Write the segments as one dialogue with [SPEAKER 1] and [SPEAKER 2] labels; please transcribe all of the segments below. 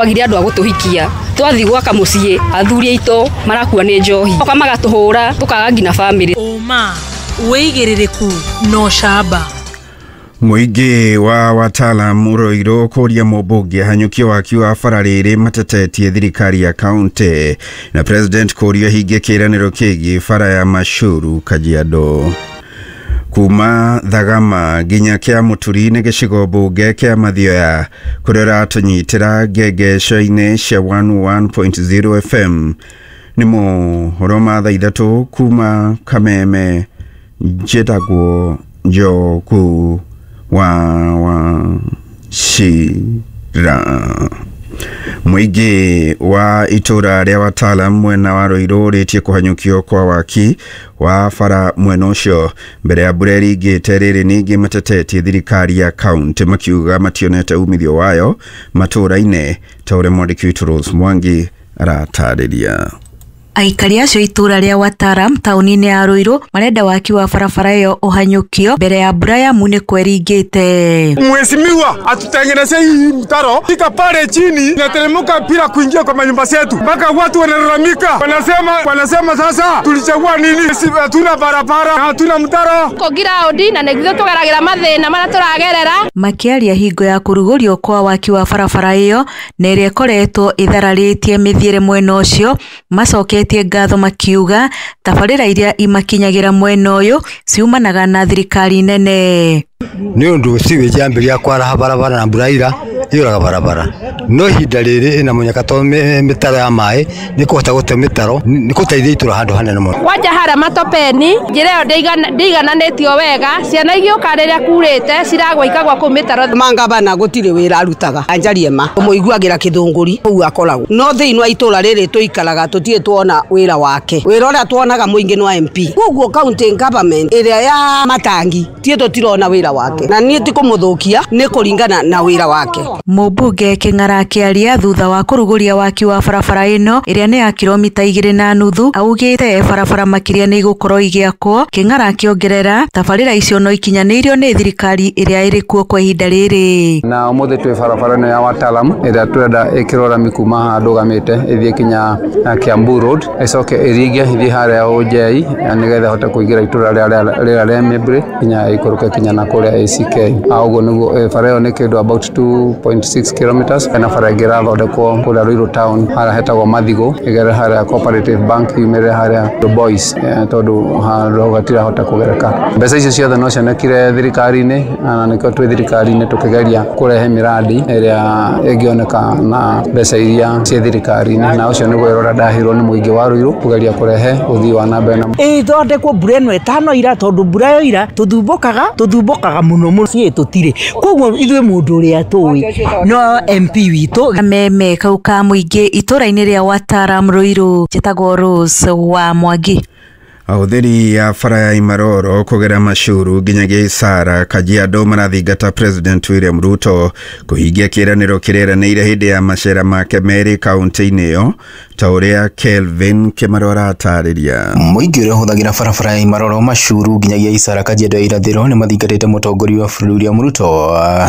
[SPEAKER 1] Twagire andũ a gũtũhikia, twathiĩ gwaka mũciĩ athuri aitũ marakua nĩ njohi, oka magatũhũra tũkaga nginya bamĩrĩ.
[SPEAKER 2] Ũma, wĩigĩrĩrĩku na ũcamba.
[SPEAKER 3] Mũingĩ wa Watalam Ruiru kũria mũmbunge ahanyũkie waki wa bara rĩrĩ matetetie thirikari ya kaunti na president kũrio ahingie kĩĩranĩro kĩgiĩ bara ya Mashuru Kajiado. Kuma Thagama nginya kĩa Mũturi nĩ gĩcigo mbunge kĩa Mathioya kũrĩa ũratũnyitĩra ngengesho-inĩ cia 101.0 FM. Nĩ mohoro ma thaa 3 kuma Kameme. Njĩtagwo Njogu wa Wachira. Mũingĩ wa itũra rĩa Watalam mwena wa Ruiru ũrĩtie kũhanyũkio kwa waki wa bara mwena ũcio mbere ya mbura ĩringĩte. Rĩrĩ ningĩ matetetie thirikari ya kaunti makiuga mationete umithio wayo matũra-inĩ, ta ũrĩa mwandĩki witũ Rose Mwangi aratarĩria.
[SPEAKER 4] Aikari acio itũra rĩa Watalam taũni-inĩ ya Ruiru marenda waki wa barabara ĩyo ũhanyũkio mbere ya mbura ya munĩko ĩringĩte.
[SPEAKER 5] Mheshimiwa atutengeneze hii mtaro fika pale chini inateremka bila kuingia kwa manyumba zetu, mpaka watu wanalalamika, wanasema sasa tulichagua nini? Hatuna barabara, hatuna mtaro
[SPEAKER 6] ko giraundi na nĩguo tũgeragĩra mathĩna marĩa tũragerera.
[SPEAKER 4] Makĩaria hingo ya kũrugũrio kwa waki wa barabara ĩyo na ĩrĩa ĩkoretwo ĩthararĩtie mĩthiĩre mwena ũcio, macoketie ngatho makiuga tabarĩra iria imakinyagira mwena ũyũ ciumanaga na thirikari nene.
[SPEAKER 7] Nĩ ũndũ sewage yambĩrĩria kwaraha barabara na mbura ira yũraga barabara, no ihinda rĩrĩ ĩna mũnyaka to mĩtaro ya maĩ nĩ kũhota gũte mĩtaro nĩ gũteithia itũra handũ hanene mũno.
[SPEAKER 6] Kwanja harĩa matopeni njĩra ĩyo ndĩigananĩtio wega, ciana igĩũka rĩrĩa kurĩte ciragwa ikagwa kũu mĩtaro.
[SPEAKER 8] Mangabana gũtirĩ wĩra arutaga, anjarie ma ũmũiguagĩra kĩthũngũri kũu akoragwo, no thĩinĩ wa itũra rĩrĩ tũikaraga tũtirĩ tuona wĩra wake. Wĩra ũrĩa tuonaga mũingĩ nĩ wa MP, koguo county government ĩrĩa ya matangi tie tũtirona wĩra wake, na niĩ ti kũmũthũkia, nĩ kũringana na wĩra wake.
[SPEAKER 4] Mũmbunge Kĩng'ara akĩaria thutha wa kũrugũria waki wa barabara ĩno ĩrĩa nĩ ya kilomita 2.5 augĩte barabara makĩria nĩ igũkorwo igĩakwo. Kĩng'ara akĩongerera tabarĩra icio no ikinyanĩirio nĩ thirikari ĩrĩa ĩrĩ kuo kwa ihinda rĩrĩ.
[SPEAKER 9] Na ũmũthĩ twĩ barabara ĩno ya Watalam ĩrĩa tũrenda ĩkĩrwo rami kuma haha ndũgamĩte ĩthiĩ kinya Kiambu Road, ĩcoke ĩringe ĩthiĩ harĩa Ũnjei nĩgetha ĩhote kũingĩra itũra rĩrĩa rĩa Mĩmbri kinya ĩikũrũke kinya na kũrĩa ACK. Ũguo nĩguo bara ĩyo nĩ kĩndũ about 2.6 kilometers. Hena bara ĩngĩ ĩrathondekwo kũrĩa Ruiru town harĩa hetagwo Mathigo, ĩgerere harĩa Cooperative Bank yumĩrĩre harĩa Boys, tondũ handũ hau hatirahota kũgereka. Mbeca icio ciothe no cionekire thirikari-inĩ, na nĩkĩo twĩ thirikari-inĩ tũkĩgeria kũrehe mĩradi ĩrĩa ĩngĩoneka na mbeca iria ciĩ thirikari-inĩ, na ũcio nĩguo wĩra ũrĩa ndaheirwo nĩ mũingĩ wa Ruiru kũgeria kũrehe ũthii wa na mbere.
[SPEAKER 10] Ĩthondekwo mbura ĩno ĩtano ira, tondũ mbura yoira tũthumbũkaga mũno mũciĩ tũtirĩ, koguo ithuĩ mũndũ ũrĩa tũĩ no MP witũ.
[SPEAKER 4] Kameme kau ka mũingĩ itũra-inĩ rĩa Watalam Ruiru, njĩtagwo Rose wa Mwangi.
[SPEAKER 3] Ahũthĩri a bara ya Imaroro kũgera Mashuru nginyagia Isara Kajiado marathingata President William Ruto kũhingia kĩĩranĩro kĩreranĩire hĩndĩ ya macera make merĩ kaunti-inĩ ĩyo, ta ũrĩa Kelvin Kĩmaro aratarĩria.
[SPEAKER 11] Mũingĩ ũrĩa ũhũthagĩra barabara ya Imaroro Mashuru nginyagia Isara Kajiado ya irathĩro nĩ mathingatĩte mũtongoria wa bũrũri William Ruto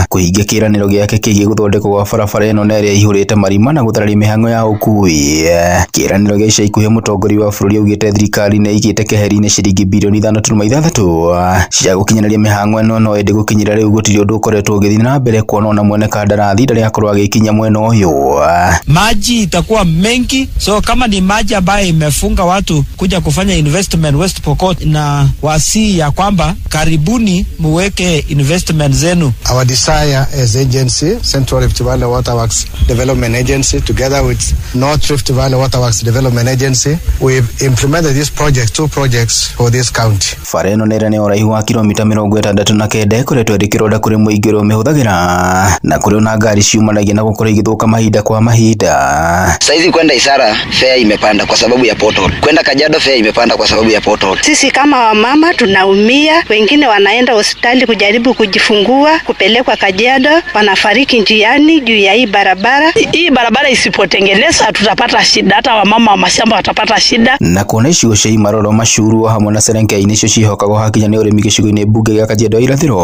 [SPEAKER 11] kũhingia kĩĩranĩro gĩake kĩgiĩ gũthondekwo gwa barabara ĩno na ĩrĩa ĩihũrĩte marima na gũthararia mĩhang'o ya ũkuui. Kĩĩranĩro gĩa ica ikuhĩ mũtongoria wa bũrũri augĩte thirikari nĩ ĩigĩte keheri-inĩ ciringi bilioni 5.6 cia gũkinyanĩria mĩhang'o ĩno, no ĩndĩ gũkinyĩra rĩu gũtirĩ ũndũ ũkoretwo ũgĩthiĩ na mbere kuona ona mwene kandarathi ndarĩ akorwo agĩkinya mwena ũyũ.
[SPEAKER 12] Maji itakuwa mengi, so kama ni maji ambayo imefunga watu kuja kufanya investment West Pokot, na wasi ya kwamba karibuni muweke investment zenu.
[SPEAKER 13] Our desire as agency, Central Rift Valley Waterworks Development Agency, together with North Rift Valley Waterworks Development Agency, we've implemented this project, 2 projects for this county.
[SPEAKER 11] Bara ĩno nĩ ĩrĩa nĩ ũraihu wa kilomita 69 ĩkoretwo ĩrĩ kĩronda kũrĩ mũingĩ ũrĩa ũmĩhũthagĩra na kũrĩ ona ngari ciumanagia na gũkorwo igĩthũka mahinda kwa mahinda.
[SPEAKER 14] Saizi kwenda Isara Garissa fare imepanda kwa sababu ya pothole. Kwenda Kajiado fare imepanda kwa sababu ya pothole.
[SPEAKER 15] Sisi kama wamama tunaumia, wengine wanaenda hospitali kujaribu kujifungua, kupelekwa Kajiado, wanafariki njiani juu ya hii barabara.
[SPEAKER 16] Hii barabara isipotengenezwa tutapata shida, hata wamama wa mashamba watapata shida.
[SPEAKER 11] Na kuona icigo cia Imaroro Mashuru hamwe na Serengei nicio ciĩhokagwo hakinya nĩ ũrĩmi gĩcigo-inĩ mbunge gĩa Kajiado ya Irathĩro.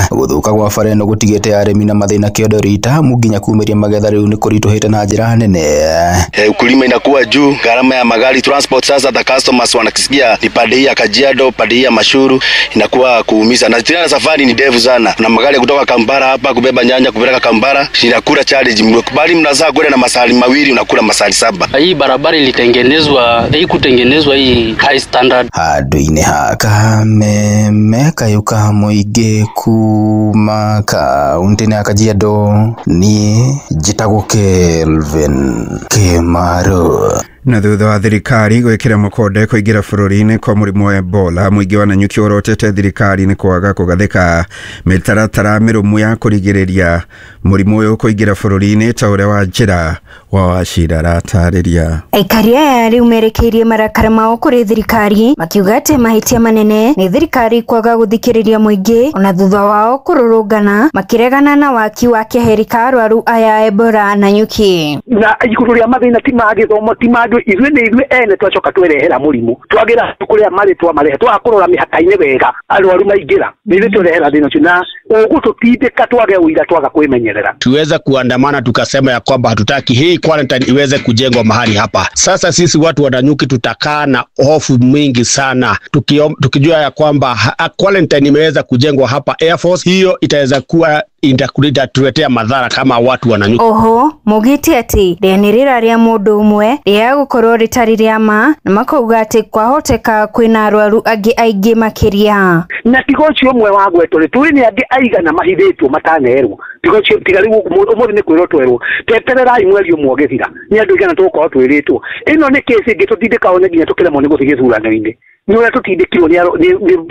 [SPEAKER 11] Gũthũka gwa bara ĩno gũtigĩte arĩmi na mathĩna kĩondo rita amu nginya kumĩria magetha rĩu nĩ kũritũhĩte na njĩra nene.
[SPEAKER 17] Ukulima inakuwa juu, gharama ya magari transport, sasa the customers wanakisikia ni pande hii ya Kajiado, pande hii ya Mashuru, inakuwa kuumiza. Na tena safari ni ndefu sana. Na magari kutoka Kampala hapa kubeba nyanya kupeleka Kampala inakula charge, bali mnazaa kwenda na masali mawili unakula masali 7.
[SPEAKER 18] Hii barabara ilitengenezwa, haikutengenezwa hii high standard.
[SPEAKER 11] Handũ-inĩ ha Kameme kayũ ka mũingĩ kuma kaũntĩ-inĩ ya Kajiado, niĩ njĩtagwo Kelvin Kĩmaru.
[SPEAKER 3] Na thutha wa thirikari gwĩkĩra mũkonde kũingĩra bũrũri-inĩ kwa mũrimũ wa Ebola, mũingĩ wa Nanyuki ũrotete thirikari nĩ kwaga kũgathĩka mĩtaratara mĩrũmu ya kũrigĩrĩria mũrimũ ũyũ kũingĩra bũrũri-inĩ ta ũrĩa wa njĩra wa Wachira aratarĩria.
[SPEAKER 19] Aikari aya rĩu merekeirie marakara mao kũrĩ thirikari makiuga atĩ mahĩtia manene nĩ thirikari kwaga gũthikĩrĩria mũingĩ ona thutha wao kũrũrũngana makĩregana na waki wa keheri ka arwaru aya Ebola Nanyuki.
[SPEAKER 20] Na igũrũ rĩa mathĩna ti ma gĩthomo ti ma ithuĩ nĩ ithuĩ ene twacoka twerehera mũrimũ twagĩra kũrĩa marĩ twamarehe twaga kũrora mĩhaka-inĩ wega arwaru maingĩra nĩ ithuĩ twerehera thĩna ũcio na ũgũtũtindĩka twage ũira twaga kwĩmenyerera.
[SPEAKER 21] Tuweza kuandamana tukasema ya kwamba hatutaki hii quarantine iweze kujengwa mahali hapa. Sasa sisi watu wa Nanyuki tutakaa na hofu mingi sana tukijua ya kwamba quarantine imeweza kujengwa hapa Air Force, hiyo itaweza kuwa itatuletea madhara kama watu wa Nanyuki.
[SPEAKER 19] Oho mugite ati rĩanĩrĩra rĩa mũndũ ũmwe rĩa gũkorwo rĩtarĩ rĩa ma na makauga atĩ kwahoteka kwĩna arwaru angĩ aingĩ makĩria.
[SPEAKER 20] Na tiga ũcio ũmwe wa gwetwo rĩ, tũĩ nĩ angĩ aigana mahithĩtwo matanerwo, tiga ũcio tiga rĩu ũmũthĩ nĩ kwĩrwo twerwo tetererai mweri ũmwe ũgĩthira nĩ andũ aigana tũgũkorwo twĩrĩtwo. Ĩno nĩ kesi ĩngĩ tũtindĩkaga nginya tũkĩremwo nĩ gũthiĩ gĩthurano-inĩ ni ũrĩa tutindĩkirwo nĩ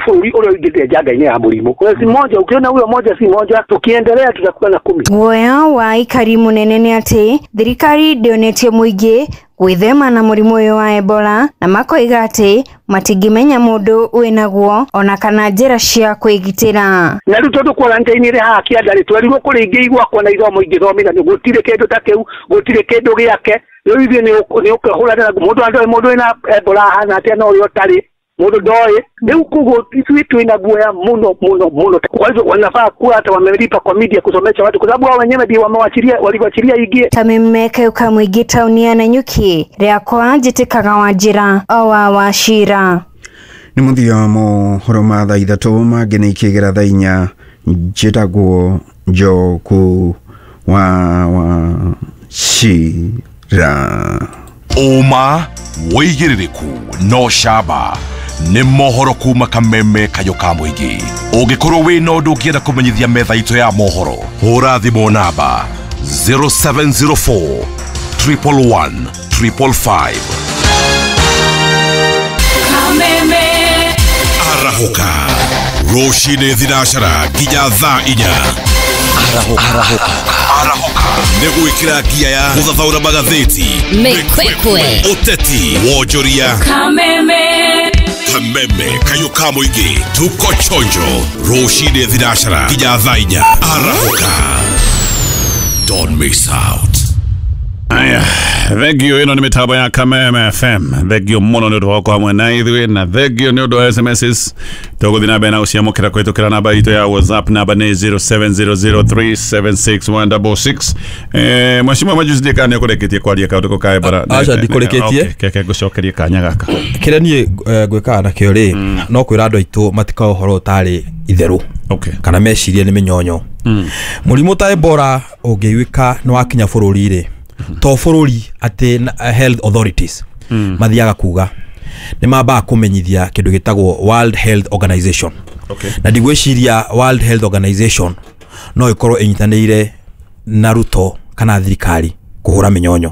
[SPEAKER 20] bũrũri ũrĩa ũingĩrĩte njanga-inĩ ya mũrimũ. Kwa si moja ukiona huyo moja si moja, tukiendelea tutakuwa na 10.
[SPEAKER 19] Guoya wa aikari mũnene nĩ atĩ thirikari ndĩonetie mũingĩ gwĩthema na mũrimũ ũyũ wa Ebola na makoiga atĩ matingĩmenya mũndũ wĩnaguo ona kana njĩra cia kwĩgitĩra.
[SPEAKER 20] Na rĩu tondũ quarantine ĩrĩ haha kĩanda rĩ, twerirwo kũrĩ ingĩ igwakwo na ithomo ingĩthomithanio, gũtirĩ kĩndũ ta kĩu, gũtirĩ kĩndũ gĩake. Rĩu ithuĩ nĩ ũkĩhũranĩra mũndũ andoĩ mũndũ wĩna Ebola ahana atĩa na ũrĩa ũtarĩ mũndũ ndoĩ. Rĩu koguo ithuĩ twĩna guoya mũno mũno mũno. Kwa hivyo wanafaa kuwa hata wamelipa kwa media kusomesha watu, kwa sababu wao wenyewe ndio wamewachilia, waliwachilia ingie.
[SPEAKER 19] Kameme kayũ mũingĩ taũni ya Nanyuki rĩakwa njĩtĩkaga Wanjĩra o wa Wachira.
[SPEAKER 3] Nĩ mũthia mohoro ma thaa 3 mangĩ nĩ ikĩgera thaa 4. Njĩtagwo Njoku wa Wachira.
[SPEAKER 22] Ũma wĩigĩrĩrĩku no camba nĩ mohoro kuma Kameme kayũ ka mũingĩ. Ũngĩkorwo wĩna ũndũ ũngĩenda kũmenyithia metha itũ ya mohoro, hũra thimũ namba 0704 111 555.
[SPEAKER 2] Kameme
[SPEAKER 22] arahũka rũcinĩ thinacara nginya thaa 4. Arahũka nĩ gwĩkĩra ngia ya gũthathaũra magathĩti,
[SPEAKER 2] mĩkwekwe,
[SPEAKER 22] ũteti, wonjoria.
[SPEAKER 2] Kameme
[SPEAKER 22] Kameme kayũ ka mũingĩ, tuko chonjo rũcinĩ thinacara nginya thaa 4. Arahũka, don't miss out.
[SPEAKER 23] Aya, thengio ĩno nĩ mĩtambo ya Kameme FM. Thengio mũno nĩ ũndũ wa gũkorwo hamwe na ithuĩ na thengio nĩ ũndũ wa SMSs. Tũgũthiĩ na mbere na gũciamũkĩra kũhĩtũkĩra namba itũ ya WhatsApp, namba nĩ 0700376166. Mheshimiwa Majuzi ndiĩ kana nĩ ũkũrĩkĩtie kwaria kaũndũ ka Ebola.
[SPEAKER 24] Aca ndikũrĩkĩtie.
[SPEAKER 23] Keke ngũcokerie kanya gaka.
[SPEAKER 24] Kĩrĩa niĩ ngwĩkaga nakĩo rĩ, no kwĩra andũ aitũ matikae ũhoro ũtarĩ itherũ kana mecirie nĩ mĩnyonyo. Mũrimũ ta Ebola ũngĩiguĩka nĩ wakinya bũrũri rĩ, to bũrũri atĩ health authorities mathiaga kuga nĩ mambaga kũmenyithia kĩndũ gĩtagwo World Health Organization. Na ndigwĩciria World Health Organization no ĩkorwo ĩnyitanĩire na Ruto kana thirikari kũhũra mĩnyonyo,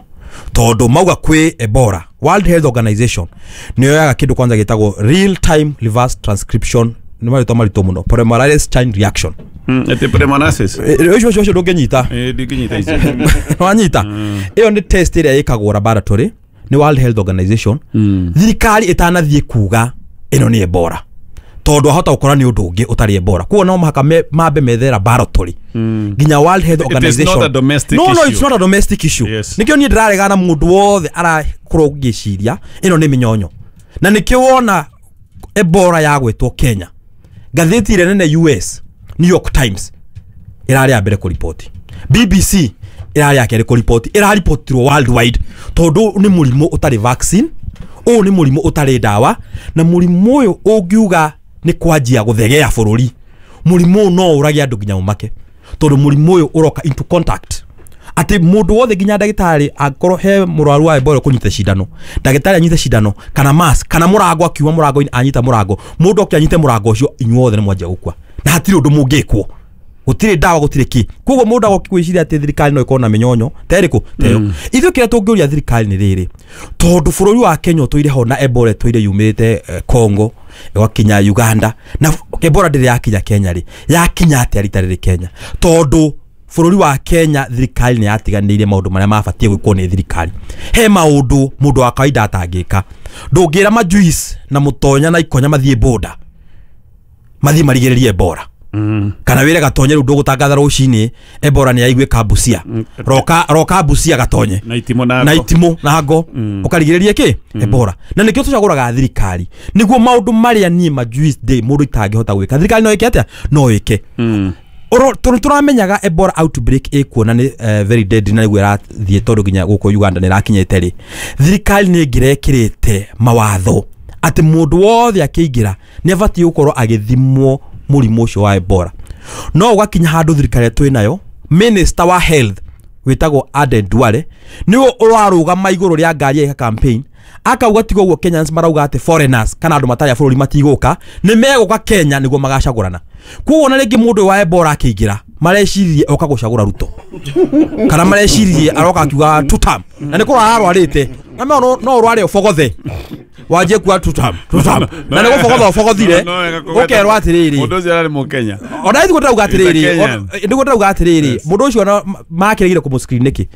[SPEAKER 24] tondũ mauga kwĩ Ebola World Health Organization nĩ yoyaga kĩndũ kwanza gĩtagwo real time reverse transcription, nĩ marĩtwa maritũ mũno, polymerase chain reaction.
[SPEAKER 23] Ete polymerase
[SPEAKER 24] ũcio ũcio ndũngĩnyita.
[SPEAKER 23] Ndingĩnyita icio.
[SPEAKER 24] Wanyita. Ĩyo nĩ test ĩrĩa ĩkagwo laboratory Nĩ World Health Organization. Thirikari ĩtanathiĩ kuga ĩno nĩ Ebola, tondũ ahota gũkora nĩ ũndũ ũngĩ ũtarĩ Ebola, koguo no mũhaka mambe methe laboratory nginya World Health Organization.
[SPEAKER 23] It is not a domestic
[SPEAKER 24] no,
[SPEAKER 23] issue.
[SPEAKER 24] No, it's not a domestic issue.
[SPEAKER 23] Yes.
[SPEAKER 24] Nĩkĩo niĩ ndĩraregana na mũndũ wothe arakorwo ngĩciria ĩno nĩ mĩnyonyo, na nĩkĩo wona Ebola yagwetwo Kenya, ngathĩti ĩrĩa nene US New York Times ĩrarĩ ya mbere kũripoti, BBC ĩrarĩ ya kerĩ kũripoti, ĩraripotirwo worldwide tondũ nĩ mũrimũ ũtarĩ vaccine, ũyũ nĩ mũrimũ ũtarĩ ndawa, na mũrimũ ũyũ ũngiuga nĩ kwanjia gũthegea bũrũri, mũrimũ ũyũ no ũrage andũ nginya ũmake, tondũ mũrimũ ũyũ ũroka into contact atĩ mũndũ wothe nginya ndagĩtarĩ angĩkorwo he mũrwaru wa Ebola kũnyita cindano, ndagĩtarĩ anyite cindano kana mask kana mũrango, akiuma mũrango-inĩ anyita mũrango, mũndũ oke anyite mũrango ũcio, inyuothe nĩ mwanjia gũkua na hatirĩ ũndũ mũngĩkwo, gũtirĩ ndawa, gũtirĩ kĩ. Koguo mũndũ agoka gwĩciria atĩ thirikari no ĩkorwo na mĩnyonyo ta ĩrĩkũ ta ĩyo. Ithuĩ kĩrĩa tũngĩũria thirikari nĩ rĩrĩ, tondũ bũrũri wa Kenya ũtũire ho na Ebola ĩtũire yumĩte Congo ĩgakinya Uganda, na Ebola ndĩrĩ yakinya Kenya rĩ, yakinya atĩa rita rĩrĩ Kenya? Tondũ bũrũri wa Kenya thirikari nĩ yatiganĩirie maũndũ marĩa mabatiĩ gwĩkwo nĩ thirikari. He maũndũ mũndũ wa kawaida atangĩka. Ndũngĩra majuice na mũtonya na ikonya mathiĩ boda mathiĩ marigĩrĩrie Ebola. Kana wĩre Gatonye rĩu ndũgũtangatha rũcinĩ Ebola nĩ yaiguĩka Busia, roka Busia Gatonye
[SPEAKER 23] na itimũ na
[SPEAKER 24] na itimũ na ngo ũkarigĩrĩrie kĩ Ebola. Na nĩkĩo tũcagũraga thirikari nĩguo maũndũ marĩa niĩ majuice day mũndũ itangĩhota gwĩka thirikari no ĩke atĩa? No ĩke. Tũramenyaga Ebola outbreak ĩkuo na nĩ very deadly na nĩguo ĩrathiĩ tondũ nginya gũkũ Uganda nĩ ĩrakinyĩte rĩ, thirikari nĩ ĩngĩrekĩrĩte mawatho atĩ mũndũ wothe akĩingĩra nĩ abatiĩ gũkorwo agĩthimwo mũrimũ ũcio wa Ebola. No ũgakinya handũ thirikari twĩ nayo, minister wa health wĩtagwo Aden Duale nĩwe ũrarũgama igũrũ rĩa ngari ya campaign akauga tiga ũguo Kenyans marauga atĩ foreigners kana andũ matarĩ a bũrũri matigũka, nĩ megũka Kenya nĩguo magacagũrana. Koguo ona rĩngĩ mũndũ wa Ebola akĩingĩra mareciririe oka gũcagũra Ruto kana mareciririe aroka akiuga two term, na nĩ kũrwara arwarĩte, na no ũrware ũbogothe wanjie kuga two term na nĩ gũbogotha ũbogothire ũkerwo atĩrĩrĩ
[SPEAKER 23] mũndũ ũcio ararĩ mũkenya.
[SPEAKER 24] Ona ithuĩ ndĩrauga atĩrĩrĩ, nĩguo ndĩrauga atĩrĩrĩ, mũndũ ũcio ona makĩregire kũmũ-screen nĩkĩ?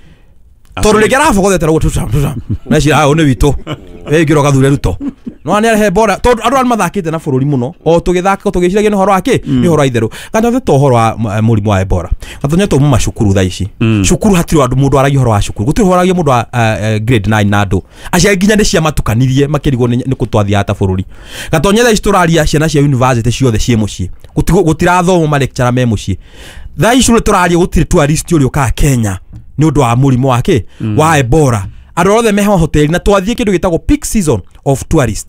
[SPEAKER 24] Tondũ rĩngĩ arabogothete ũguo two term na cira ũyũ nĩ witũ ĩngĩra ũgathure Ruto no nĩ arehe Ebola tondũ andũ arĩa mathakĩte na bũrũri mũno o tũgĩthaka tũgĩciragia nĩ ũhoro wa kĩ, nĩ ũhoro wa itherũ. Gatonye to ũhoro wa mũrimũ wa Ebola, Gatonye to macukuru thaa ici cukuru hatirĩ andũ mũndũ aragia ũhoro wa cukuru, gũtirĩ ũhoro aragia mũndũ wa grade 9 na andũ aciari nginya nĩ ciamatukanirie makĩrigwo nĩ kũ twathiaga ta bũrũri. Gatonye thaa ici tũraria ciana cia university ciothe ciĩ mũciĩ, gũtirathomwo ma lecturer me mũciĩ. Thaa ici tũraria gũtirĩ tourist ũrĩa ũkaga Kenya nĩ ũndũ wa mũrimũ wa kĩ wa Ebola. Andũ othe meho hoteli na twathiĩ kĩndũ gĩtagwo peak season of tourist,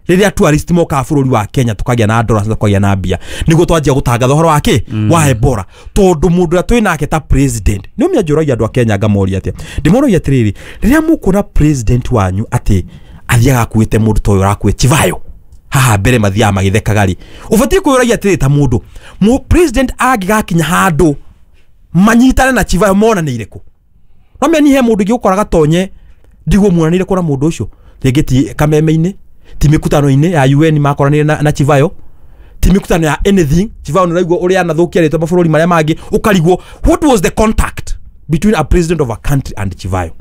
[SPEAKER 24] rĩrĩa tourist mokaga bũrũri wa Kenya tũkagĩa na dollars na tũkagĩa na mbia, nĩguo twanjia gũtangatha ũhoro wa kĩ wa Ebola. Tondũ mũndũ ũrĩa twĩ nake ta president nĩ ũmenya njũragia andũ a Kenya ngamoria atĩa, ndĩmoragia atĩrĩrĩ, rĩrĩa mũkuona president wanyu atĩ athiaga akuĩte mũndũ ta ũyũ ũrakuĩte Chivayo haha mbere mathiaga magĩthekaga rĩ, ũbatiĩ kwĩyũragia atĩrĩrĩ, ta mũndũ president angĩgakinya handũ manyitane na Chivayo monanĩire kũ? No menya he mũndũ ũngĩ ũkora Gatonye ndigwo muonanĩire kũ na mũndũ ũcio, rĩngĩ ti kameme-inĩ, ti mĩkutano-inĩ ya UN makoranĩire na Chivayo, ti mĩkutano ya anything. Chivayo nĩ ũraigua ũrĩa anathũkia rĩtwa mabũrũri marĩa mangĩ, ũkarigwo what was the contact between a president of a country and Chivayo?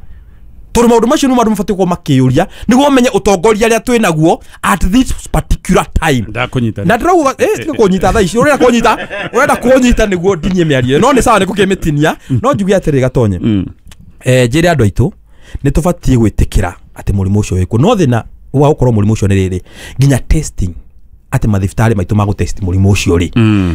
[SPEAKER 24] Tondũ maũndũ macio nĩmo andũ mabatiĩ gũkorwo makĩyũria nĩguo mamenye ũtongoria ũrĩa twĩ naguo at this particular time.
[SPEAKER 23] Ndakũnyita
[SPEAKER 24] na ndĩrauga tiga kũnyita thaa ici, ũrenda kũnyita, ũrenda kũnyita nĩguo ndinie mĩario no nĩ sawa nĩ gũkĩmĩtinia. No njuge atĩrĩ Gatonye, njĩre andũ aitũ nĩ tũbatiĩ gwĩtĩkĩra atĩ mũrimũ ũcio wĩkuo, no thĩna wa gũkorwo mũrimũ ũcio nĩ rĩrĩ, nginya testing atĩ mathibitarĩ maitũ ma gũtest mũrimũ ũcio rĩ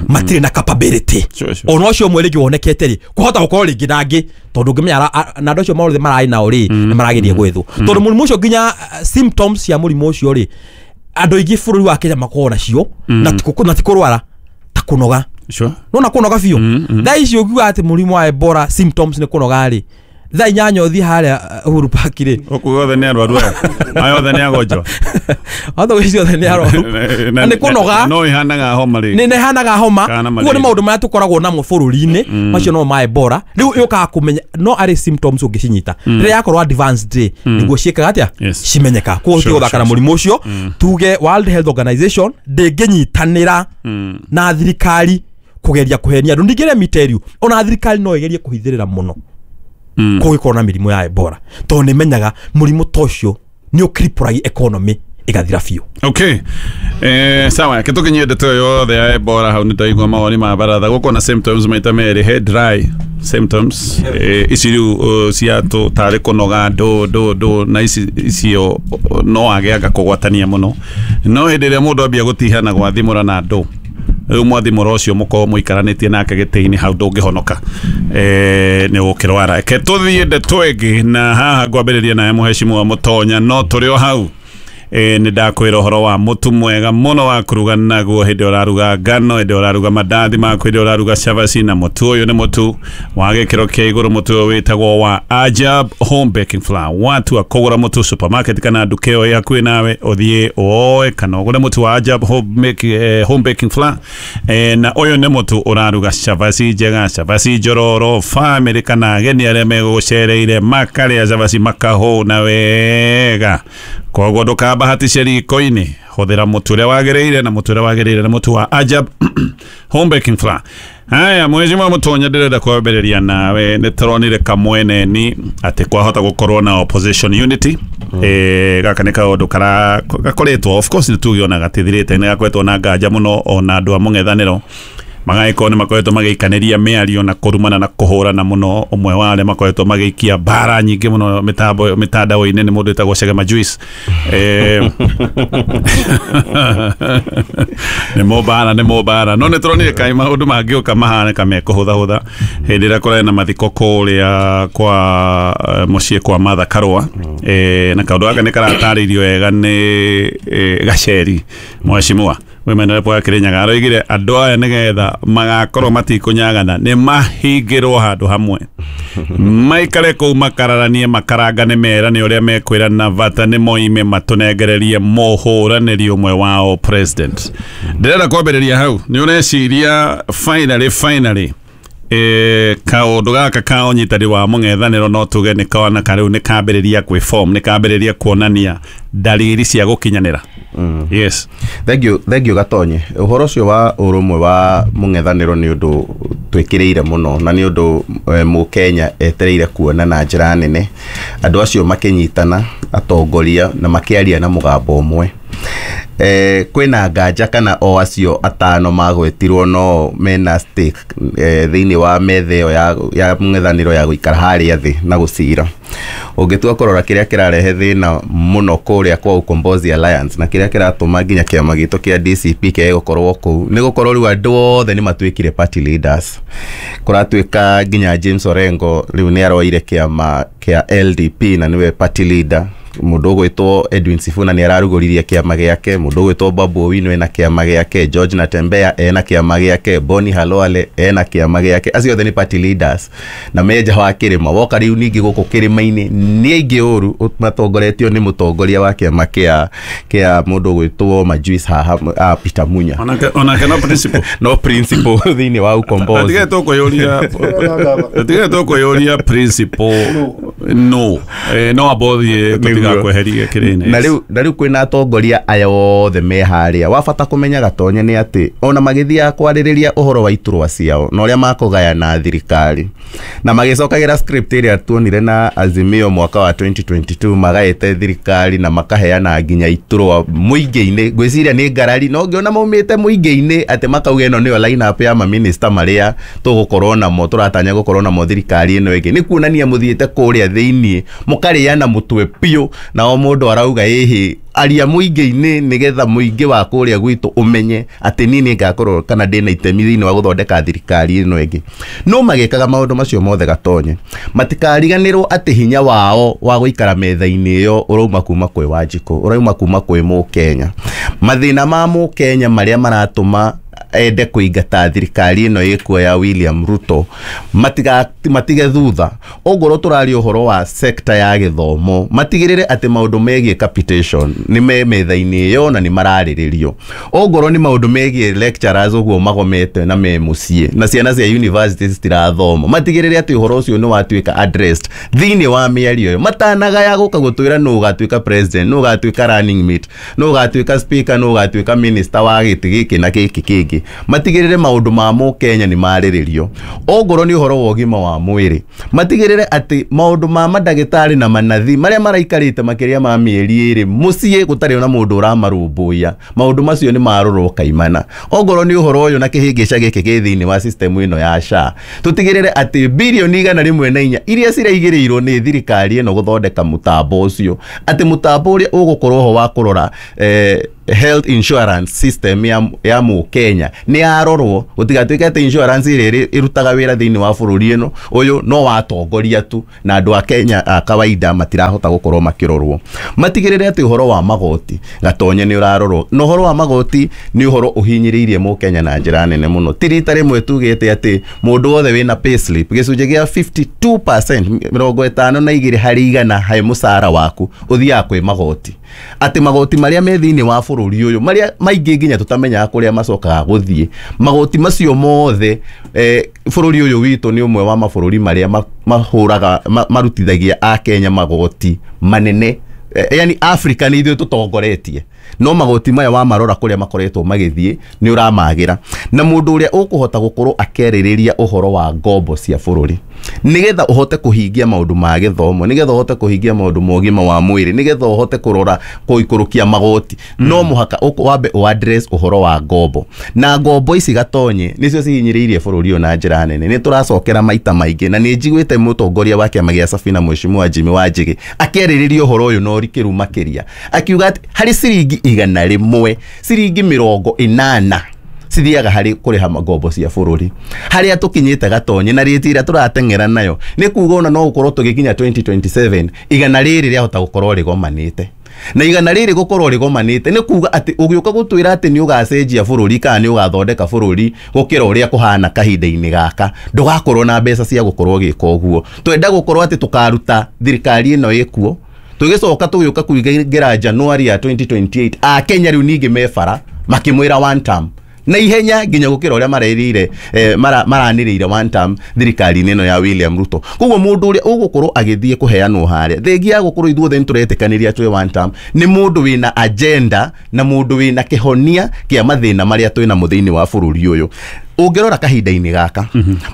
[SPEAKER 24] matirĩ na capability. Ona ũcio ũmwe rĩngĩ wonekete rĩ kũhota gũkorwo rĩngĩ nangĩ, tondũ ũngĩmenya na andũ acio mothe mararĩ nao rĩ nĩ marageria gwethwo, tondũ mũrimũ ũcio nginya symptoms cia mũrimũ ũcio rĩ andũ aingĩ bũrũri wa Kenya makoragwo nacio na ti kũrwara ta kũnoga. Nona kũnoga biũ. Thaa ici ũngiuga atĩ mũrimũ wa Ebola symptoms nĩ kũnoga rĩ, thaa inyanya ũthiĩ harĩa Uhuru Park rĩ,
[SPEAKER 23] gũkũ guothe nĩ arwaru aya, aya othe nĩ agonjwa,
[SPEAKER 24] othe gũcio othe nĩ arwaru na nĩ kũnoga,
[SPEAKER 23] no ihanaga homa rĩ,
[SPEAKER 24] nĩ ihanaga homa. Koguo nĩ maũndũ marĩa tũkoragwo namo bũrũri-inĩ macio no ma Ebola. Rĩu yũkaga kũmenya no arĩ symptoms ũngĩcinyita rĩrĩa yakorwo advanced rĩ nĩguo ciĩkaga atĩa cimenyeka. Koguo tũtigũthaka na mũrimũ ũcio, tuge World Health Organization ndĩngĩnyitanĩra na thirikari kũgeria kũhenia andũ. Ningĩ let me tell you, ona thirikari no ĩgerie kũhithĩrĩra mũno, Kũgĩkorwo na mĩrimũ ya Ebola tondũ nĩ menyaga mũrimũ ta ũcio nĩ ũkripũragia economy ĩgathira biũ.
[SPEAKER 23] Okay. Sawa, kitukinyie ndeto yothe ya Ebola hau nĩtaigua mawoni ma baratha gũkũ na symptoms maita merĩ, head dry symptoms ici rĩu cia tarĩ kũnoga ndũ na ici icio no age kũgwatania mũno, no hĩndĩ ĩrĩa mũndũ ambia gũtiha na gwathimũra na ndũ rĩu mwathimũra ũcio mũkorwo mũikaranĩtie nake gĩtĩ-inĩ hau ndũngĩhonoka nĩ ũgũkĩrwara. Reke tũthiĩ ndeto ĩngĩ na haha ngwambĩrĩria nawe mũhecimu wa Mũtonya, no tũrĩ o hau nĩ ndakwĩra ũhoro wa mũtu mwega mũno wa kũruga naguo hĩndĩ ũraruga ngano, hĩndĩ ũraruga mandathi maku, hĩndĩ ũraruga cabaci, na mũtu ũyũ nĩ mũtu wa gĩkĩro kĩa igũrũ. Mũtu ũyũ wĩtagwo wa Ajab Home Baking Flour. Watua kũgũra mũtu supermarket kana nduka ĩyo ĩ hakuhĩ nawe, ũthiĩ woe kana ũgũre mũtu wa Ajab Home Baking Flour. Na ũyũ nĩ mũtu ũraruga cabaci njega, cabaci njororo, famĩlĩ kana ageni arĩa megũgũcereire makarĩa cabaci makahũna wega. Koguo ndũkambahatishe riko-inĩ, hũthĩra mũtu ũrĩa wagĩrĩire, na mũtu ũrĩa wagĩrĩire nĩ mũtu wa Ajab Home Baking Flour. Haya, Mheshimiwa Mũtonya, ndĩrenda kwambĩrĩria nawe. Nĩ tũronire kamweneni atĩ kwahota gũkorwo na opposition unity. Gaka nĩ kaũndũ gakoretwo, of course nĩ tugĩonaga gatithirĩte, nĩ gakoretwo na nganja mũno ona andũ a mũng'ethanĩro magagĩkorwo nĩ makoretwo magĩikanĩria mĩario na kũrumana na kũhũrana mũno. Ũmwe wa arĩa makoretwo magĩikia mbara nyingĩ mũno mĩtandao-inĩ nĩ mũndũ wĩtagwo Chege Majuice. Nĩ mũmbara no nĩ tũronire kaĩ maũndũ mangĩũka mahanĩka mekũhũthahũtha hĩndĩ ĩrĩa kũrarĩ na mathiko kũrĩa kwa mũciĩ kwa Martha Karũa. Na kaũndũ gaka nĩ karatarĩirio wega nĩ Gaceri Mheshimiwa Women Rep wa Kirinyaga, aroigire andũ aya nĩgetha magakorwo matikũnyagana nĩ mahingĩrwo handũ hamwe, maikare kũu makararanie, makarangane, merane ũrĩa mekwĩrana bata nĩ moime matũnengererie mũhũranĩri ũmwe wao president. Ndĩrenda kwambĩrĩria hau, nĩ ũreciria finally kaũndũ gaka ka ũnyitani wa mũng'ethanĩro no tuge nĩ kaona karĩu nĩ kambĩrĩria kwĩform, nĩ kambĩrĩria kuonania dalili cia gũkinyanĩra? Yes.
[SPEAKER 1] Thank you Gatonye. Ũhoro ũcio wa ũrũmwe wa mũng'ethanĩro nĩ ũndũ twĩkĩrĩire mũno na nĩ ũndũ mũkenya etereire kuona na njĩra nene andũ acio makĩnyitana atongoria na makĩaria na mũgambo ũmwe. Kwĩna nganja kana o acio atano magwetirwo no mena stake thĩinĩ wa metha ĩyo ya mũng'ethanĩro ya gũikara harĩa thĩ na gũcira. Ũngĩtua kũrora kĩrĩa kĩrarehe thĩna mũno kũrĩa kwa Ukombozi Alliance na kĩrĩa kĩratũma nginya kĩama gitũ kĩa DCP kĩage gũkorwo kũu nĩ gũkorwo rĩu andũ othe nĩ matuĩkire party leaders. Kũratuĩka nginya James Orengo rĩu nĩ aroire kĩama kĩa LDP na nĩwe party leader. Mũndũ ũgwĩtwo Edwin Sifuna nĩ ararugũririe kĩama gĩake, mũndũ ũgwĩtwo Babu Owino ena kĩama gĩake, George Natembeya ena kĩama gĩake, Boni Halwale ena kĩama gĩake. Acio othe nĩ party leaders na menja wa kĩrĩma. Woka rĩu ningĩ gũkũ kĩrĩma-inĩ nĩ aingĩ ũru matongoretio nĩ mũtongoria wa kĩama kĩa mũndũ ũgwĩtwo Majuice haha Peter Munya.
[SPEAKER 23] Onake no principle.
[SPEAKER 1] No principle thĩinĩ wa Ukombozi.
[SPEAKER 23] Tige tũkwĩyũria principle no. No abothi tũtiga kweheria kĩrĩne.
[SPEAKER 1] Na rĩu kwĩna atongoria aya othe me harĩa. Wa bata kũmenya Gatonye nĩ atĩ ona magĩthiaga kwarĩrĩria ũhoro wa iturwa ciao na ũrĩa makũgayana thirikari na magĩcokagĩra script ĩrĩa tuonire na Azimio mwaka wa 2022 magaĩte thirikari na makaheana nginya iturwa mũingĩ-inĩ. Ngwĩciria nĩ ngarari no ngĩona maumĩte mũingĩ-inĩ atĩ makauga ĩno nĩyo line up ya maminista marĩa tũgũkorwo namo, tũratanya gũkorwo namo thirikari ĩno ĩngĩ. Nĩ kuonania mũthiĩte kũrĩa thĩiniĩ mũkarĩana mũtwe biũ na o mũndũ arauga ĩhĩ aria mũingĩ-inĩ nĩgetha mũingĩ wa kũrĩa gwitũ ũmenye atĩ niĩ nĩngakorwo kana ndĩna itemi thĩinĩ wa gũthondeka thirikari ĩno ĩngĩ. No magĩkaga maũndũ macio mothe Gatonye, matikariganĩrwo atĩ hinya wao wa gũikara metha-inĩ ĩyo ũrauma kuma kwĩ Wanjikũ, ũrauma kuma kwĩ Mũkenya. Mathĩna ma Mũkenya marĩa maratũma ende kũingata thirikari ĩno ĩkuo ya William Ruto matige thutha. Ongorwo tũraria ũhoro wa sekta ya gĩthomo, matigĩrĩre atĩ maũndũ megiĩ capitation nĩ me metha-inĩ ĩyo na nĩ mararĩrĩrio. Ongorwo nĩ maũndũ megiĩ lecturers ũguo magomete na me mũciĩ na ciana cia university citirathoma, matigĩrĩre atĩ ũhoro ũcio nĩ watuĩka addressed thĩinĩ wa mĩario ĩyo. Matanagaya gũka gũtwĩra nũ ũgatuĩka president, nũ ũgatuĩka running mate, nũ ũgatuĩka speaker, nũ ũgatuĩka minister wa gĩtĩ gĩkĩ na gĩkĩ kĩngĩ. rĩngĩ matigĩrĩre maũndũ ma mũkenya nĩ marĩrĩrio ongorwo nĩ ũhoro wa ũgima wa mwĩrĩ matigĩrĩre atĩ maũndũ ma mandagĩtarĩ na manathi marĩa maraikarĩte makĩria ma mĩeri ĩrĩ mũciĩ gũtarĩ na mũndũ ũramarũmbũiya maũndũ macio nĩ marorwo kaimana ongorwo nĩ ũhoro ũyũ na kĩhĩngĩca gĩkĩ gĩ thĩinĩ wa system ĩno ya SHA tũtigĩrĩre atĩ bilioni 104 iria ciraigĩrĩirwo nĩ thirikari ĩno gũthondeka mũtambo ũcio atĩ mũtambo ũrĩa ũgũkorwo ho wa kũrora health insurance system ya mũkenya nĩ yarorwo gũtigatuĩke atĩ insurance ĩrĩa ĩrutaga wĩra thĩinĩ wa bũrũri ĩno ũyũ no watongoria tu na andũ a Kenya a kawaida matirahota gũkorwo makĩrorwo matigĩrĩre atĩ ũhoro wa magoti gatonye nĩ ũrarorwo na ũhoro wa magoti nĩ ũhoro ũhinyĩrĩirie mũkenya na njĩra nene mũno ti rita rĩmwe tugĩte atĩ mũndũ wothe wĩna payslip gĩcunjĩ gĩa 52% 52 harĩ igana harĩ mũcara waku ũthiaga kwĩ magoti atĩ magoti marĩa me thĩinĩ wa bũrũri ũyũ marĩa maingĩ nginya tũtamenyaga kũrĩa macokaga gũthiĩ magoti macio mothe bũrũri ũyũ witũ nĩ ũmwe wa mabũrũri marĩa mahũraga marutithagia a Kenya magoti manene yani Africa nĩ ithuĩ tũtongoretie no magoti maya wamarora kũrĩa makoretwo magĩthiĩ nĩ ũramagĩra na mũndũ ũrĩa ũkũhota gũkorwo akĩarĩrĩria ũhoro wa ngombo cia bũrũri nĩgetha ũhote kũhingia maũndũ ma gĩthomo nĩgetha ũhote kũhingia maũndũ ma ũgima wa mwĩrĩ nĩgetha ũhote kũrora kũikũrũkia magoti no mũhaka wambe ũ address ũhoro wa ngombo na ngombo ici gatonye nĩcio cihinyĩrĩirie bũrũri ũyũ na njĩra nene nĩ tũracokera maita maingĩ na nĩ njiguĩte mũtongoria wa kĩama gĩa Safina Mheshimiwa Jimmy Wanjigi akĩarĩrĩria ũhoro ũyũ na ũrikĩru makĩria akiuga atĩ harĩ ciringi 100 ciringi 80 cithiaga harĩ kũrĩha ngombo cia bũrũri harĩa tũkinyĩte gatonye na rĩti ĩrĩa tũrateng'era nayo nĩ kuga ona no gũkorwo tũgĩkinya 2027 igana rĩrĩ rĩahota gũkorwo rĩgomanĩte na igana rĩrĩ gũkorwo rĩgomanĩte nĩ kuga atĩ ũgĩũka gũtwĩra atĩ nĩ ũgacenjia bũrũri kana nĩ ũgathondeka bũrũri gũkĩra ũrĩa kũhana kahinda-inĩ gaka ndũgakorwo na mbeca cia gũkorwo ũgĩka ũguo twenda gũkorwo atĩ tũkaruta thirikari ĩno ĩkuo tũgĩcoka tũgĩũka kũingĩra January ya 2028 a Kenya rĩu ningĩ me bara makĩmwĩra one term na ihenya nginya gũkĩra ũrĩa marerĩire maranĩrĩire one term thirikari-inĩ ĩno ya William Ruto koguo mũndũ ũrĩa ũgũkorwo agĩthiĩ kũheanwo harĩa thengia ya gũkorwo ithuothe nĩtũretĩkanĩria twĩ one term nĩ mũndũ wĩna agenda na mũndũ wĩna kĩhonia kĩa mathĩna marĩa twĩ namo thĩinĩ wa bũrũri ũyũ ũngĩrora kahinda-inĩ gaka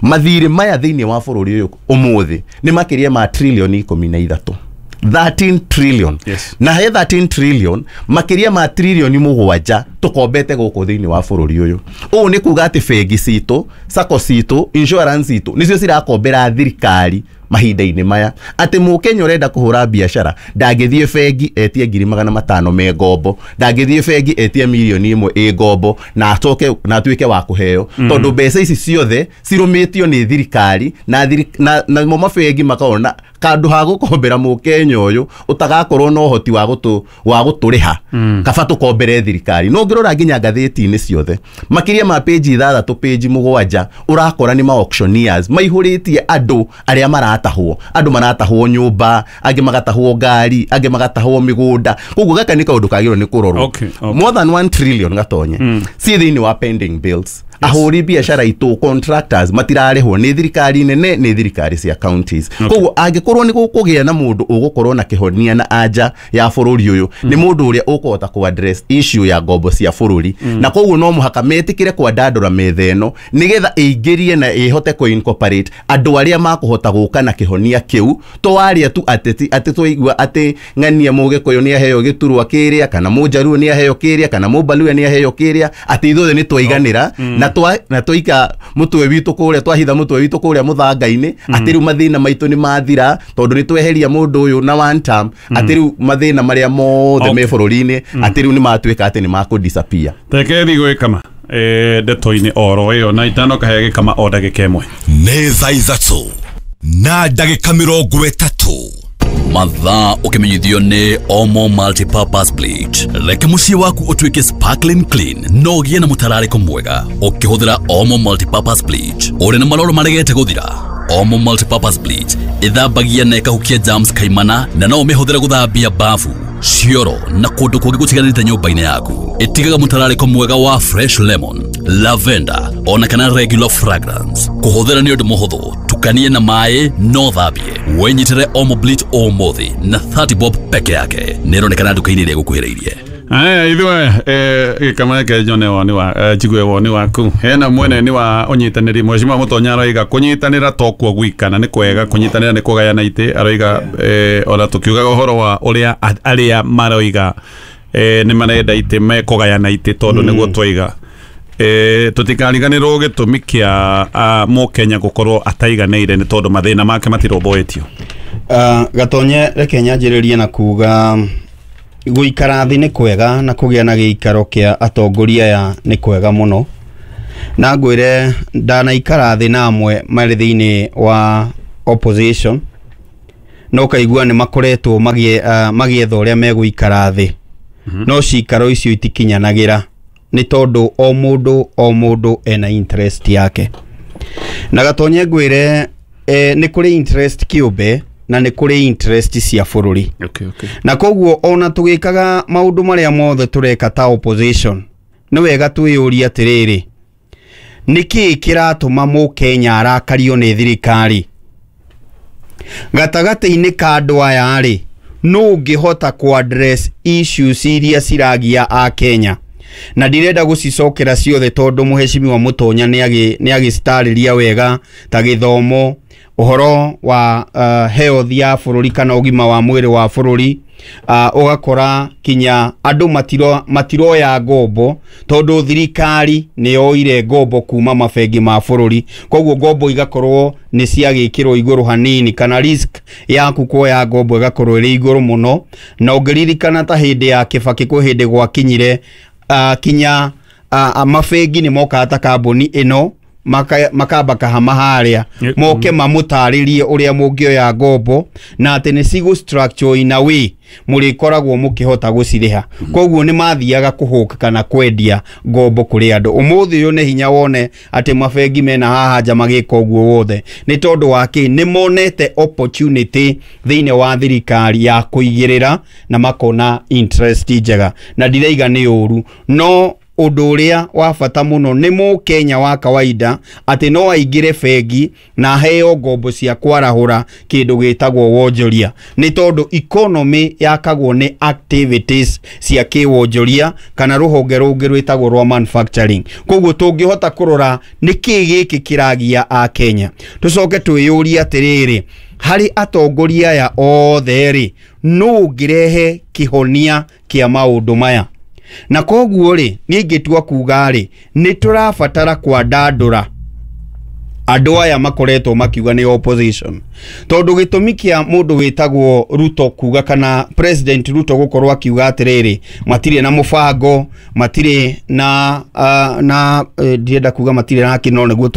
[SPEAKER 1] mathirĩ maya thĩinĩ wa bũrũri ũyũ ũmũthĩ nĩ makĩria ma trilioni 13 13 trillion.
[SPEAKER 23] Yes.
[SPEAKER 1] Na he 13 trillion makiria ma trilioni 7 tukombete guku thiini wa bururi uyu. Uu ni kuga ati bengi citu, sacco citu, insurance citu nicio cirakombera thirikari mahinda-inĩ maya atĩ mũkenya ũrenda kũhũra biacara ndangĩthiĩ bengi etie 500,000 me ngombo, ndangĩthiĩ bengi etie 1 million ĩ ngombo na acoke na atuĩke wa kũheo tondũ mbeca ici ciothe cirũmĩtio nĩ thirikari na namo mabengi makona kandu ha gũkombera mũkenya ũyũ ũtagakorwo na ũhoti wa gũtũrĩha kaba tũkombere thirikari. No ũngĩrora nginya ngathĩti-inĩ ciothe makĩria ma page 6 page 7 ũrakora nĩ ma auctioneers maihũrĩtie andũ arĩa maratahwo, andũ maratahwo nyũmba, angĩ magatahwo ngari, angĩ magatahwo mĩgũnda. Koguo gaka nĩ kaũndũ kagĩrĩirwo nĩ kũrorwo. More than 1 trillion gatonye ci thĩinĩ wa pending bills. Ahũri biacara itũ contractors matirarĩhwo nĩ thirikari nene nĩ thirikari cia counties. Koguo angĩkorwo nĩ gũkũgĩa na mũndũ ũgũkorwo na kĩhonia na anja ya bũrũri ũyũ nĩ mũndũ ũrĩa ũkũhota kũ address issue ya ngombo cia bũrũri na koguo no mũhaka metĩkĩre kwandandũra metha ĩno nĩgetha ĩingĩrie na ĩhote kũ incorporate andũ arĩa makũhota gũka na kĩhonia kĩu to aria tu ateti atĩ twaigua atĩ ng'ania mũgĩkũyũ nĩ aheo gĩturwa kĩrĩa kana mũnjaruo nĩ aheo kĩrĩa kana mũmbaluya nĩ aheo kĩrĩa atĩ ithuothe nĩ twaiganĩra na twaika mutwe witu kuria twahitha mutwe witu kuria muthanga-inĩ atĩ rĩu mathĩna maitũ nĩ mathira tondũ nĩ tweheria mũndũ ũyũ na one term atĩ rĩu mathĩna marĩa mothe me bũrũri-inĩ atĩ rĩu nĩ matuĩka atĩ nĩ makũ disappear.
[SPEAKER 23] Reke gwĩkama ndeto-inĩ oro ĩyo na itano kahe gĩkama o ndagĩka ĩmwe.
[SPEAKER 22] Nĩ thaa 3 na ndagĩka 30.
[SPEAKER 5] Mathaa ũkĩmenyithio nĩ Omo Multipurpose Bleach. Reke mũciĩ waku ũtuĩke sparkling clean no ũgĩe na mũtararĩko mwega ũkĩhũthĩra Omo Multipurpose Bleach. Ũrĩ na maroro maregete gũthira? Omo Multipurpose Bleach ĩthambagia na ĩkahukia germs kaimana na no ũmĩhũthĩre gũthambia bafu, cioro na kũndũ kũngĩ gũtiganĩte nyũmba-inĩ yaku. Ĩtigaga mũtararĩko mwega wa fresh lemon, lavender ona kana regular fragrance. Kũhũthĩra nĩ ũndũ mũhũthũ, tukanie na maĩ no thambie. Wĩnyitĩre Omo Bleach ũmũthĩ na 30 bob peke yake. Nĩĩronekana nduka-inĩ ĩrĩa ĩgũkuhĩrĩirie.
[SPEAKER 23] Aya ithuĩ gĩkameke nyone woni wa njigue woni waku. Hena mwene ni wa ũnyitanĩri Mheshimiwa Mũtonya aroiga kũnyitanĩra to kuo gwika na nĩ kwega kũnyitanĩra nĩ kũgayana itĩ aroiga ona tũkiugaga ũhoro wa ũrĩa arĩa maroiga nĩ marenda itĩ mekũgayana itĩ tondũ nĩguo twaiga tũtikariganĩrwo gĩtũmi kĩa Mũkenya gũkorwo ataiganĩire nĩ tondũ mathĩna make matirũmbũĩtio.
[SPEAKER 3] Gatonye reke nyanjĩrĩrie na kuga gũikara thĩ nĩ kwega na kũgĩa na gĩikaro kĩa atongoria aya nĩ kwega mũno, na ngwĩre ndanaikara thĩ na amwe marĩ thĩinĩ wa opposition no kaigua nĩ makoretwo magĩetha ũrĩa megũikara thĩ, no cikaro icio itikinyanagĩra nĩ tondũ o mũndũ ena interest yake. Na Gatonye ngwĩre nĩ kũrĩ interest kĩũmbe na nĩ kũrĩ interest cia bũrũri.
[SPEAKER 23] Okay.
[SPEAKER 3] Na koguo ona tũgĩkaga maũndũ marĩa mothe tũreka ta opposition nĩ wega twĩyũrie atĩrĩrĩ, nĩkĩĩ kĩratũma Mũkenya arakario nĩ thirikari? Gatagatĩ-inĩ ka andũ aya rĩ, nũ ũngĩhota kũ address issues iria ciragia a Kenya? Na ndirenda gũcicokera ciothe tondũ Mheshimiwa Mũtonya nĩ agĩcitarĩria wega ta gĩthomo, ũhoro wa health ya bũrũri kana ũgima wa mwĩrĩ wa bũrũri, ũgakora kinya andũ matiroya ngombo tondũ thirikari nĩ yoire ngombo kuma mabengi ma bũrũri, koguo ngombo igakorwo nĩ ciagĩkĩrwo igũrũ hanini kana risk yaku kuoya ngombo ĩgakorwo ĩrĩ igũrũ mũno. Na ũngĩririkana ta hĩndĩ ya Kibaki kwĩ hĩndĩ gwakinyire kinya mabengi nĩ mokaga ta kambuni ĩno makamba kahama harĩa moke mamũtarĩrie ũrĩa mũngĩoya ngombo na atĩ nĩ cigũ structure in a way mũrĩkoragwo mũkĩhota gũcirĩha. Koguo nĩ mathiaga kũhũka kana kwendia ngombo kũrĩ andũ. Ũmũthĩ ũyũ nĩ hinya wone atĩ mabengi mena haha nja magĩka ũguo wothe nĩ tondũ wa kĩ? Nĩ monete opportunity thĩinĩ wa thirikari ya kũigĩrĩra na makona interest njega, na ndiraiga nĩ ũru, no ũndũ ũrĩa wa bata mũno nĩ Mũkenya wa kawaida atĩ no aingĩre bengi na aheo ngombo cia kwarahũra kĩndũ gĩtagwo wonjoria, nĩ tondũ economy yakagwo nĩ activities cia kĩwonjoria kana rũhonge rũngĩ rwĩtagwo rwa manufacturing. Koguo tũngĩhota kũrora nĩkĩĩ gĩkĩ kĩragia a Kenya, tũcoke twĩyũrie atĩrĩrĩ, harĩ atongoria aya othe rĩ, nũ ũngĩrehe kĩhonia kĩa maũndũ maya? Na koguo rĩ, niĩ ingĩtua kuga rĩ, nĩ tũrabatara kwandandũra andũ aya makoretwo makiuga nĩ opposition, tondũ gĩtũmi kĩa mũndũ wĩtagwo Ruto kuga kana President Ruto gũkorwo akiuga atĩrĩrĩ, matirĩ na mũbango, matirĩ na ndirenda kuga matirĩ na kĩ, no nĩguo